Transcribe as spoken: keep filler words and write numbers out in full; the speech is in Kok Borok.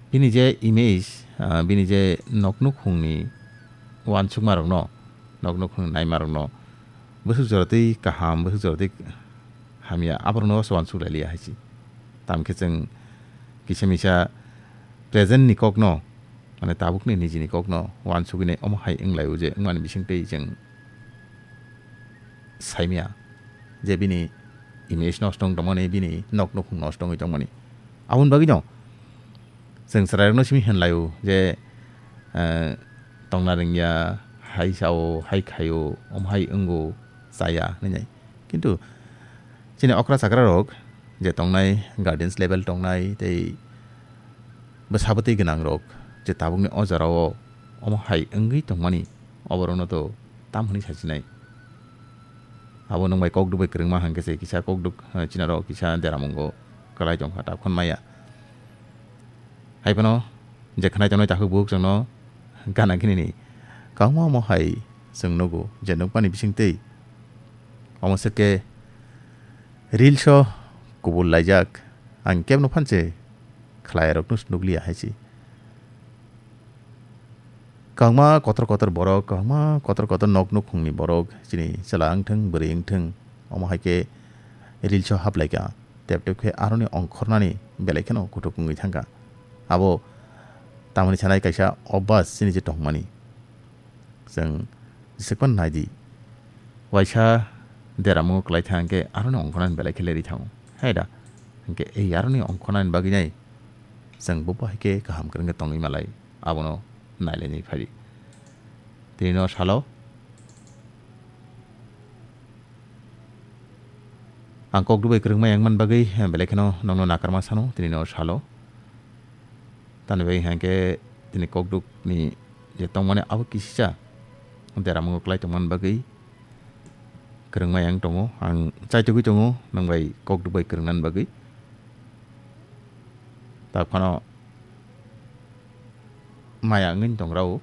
Bini je image, ah, bini je nok nukhungni uansukmarokno, nok nukhungni naimarokno bwswk jora twi kaham, bwswk jora twi hamya, aborokno se uansuk lai liya hai se. Tamo khe chwng kisa misa present ni kokno, mane tabukni nijini kokno uansugwi nai omo hai wng lai o je wngmani bising twi chwng saimya je bini image nosto wng tongmani, bini nok nukhung nosto wngwi tongmani. Aboni bagwino chwng chwrairokno simi hwnlaio je, eh, tongna rwngya, hai sao, hai khaio, omo hai wngo, chaya hwnwi nai. Kintu chini okra chakrarok je tongnai, guardians level tongnai tei bwsa bwtwi gwnangrok je tabukni o jorao omo hai wngwi tongmani, oborokno to tam hwnwi sachinai. Abo nwng bai kokduk bai kwrwngma hwnkhe se kisa kokduk, eh, chinaro kisa deramungo kwlai tongkha, ta khon maya. Hai phano je khnai tongnai takhuk bukhuk chwngno gana gini ni kwbangma omo hai chwng nugo je nukmani bisingtwi omo swk khe reels o kubul laijak, ang kebno phan se khlairokno nukliya hai se. Kwbangma kotor kotor borok, kwbangma kotor kotor nok nukhungni borok, chini chwla wngthung, bwrwi wngthung, omo hai khe reels o haplaikha. Tep tep khe aroni ongkhornani belai kheno kuthuk wngwi thangkha. Abo tamoni sanai kaisa obas chini je tongmani. Chwng jesa phano nai di. Waisa deramungo kwlai thang khe aroni ongkhornani belai khe lerwi thango. Hai da? Hwnkhe ei aroni ongkhornani bagwi nai chwng bo bahai khe kaham kwrwng khe tongwi malai. Abono nailainai phai di. Tini no salo. Ang kok dubai kwrwngma yang man bagwi, eh, belai kheno nokno nakarma sano, tini no salo. Tani bai hwnkhe tini kokduk ni je tongmani abo kisisa deramungo kwlai tongmani bagwi kwrwngma yang tongo. Ang chaitugwi tongo nwng bai kokduk bai kwrwngnani bagwi. Tak phano maya wngwi tong rao.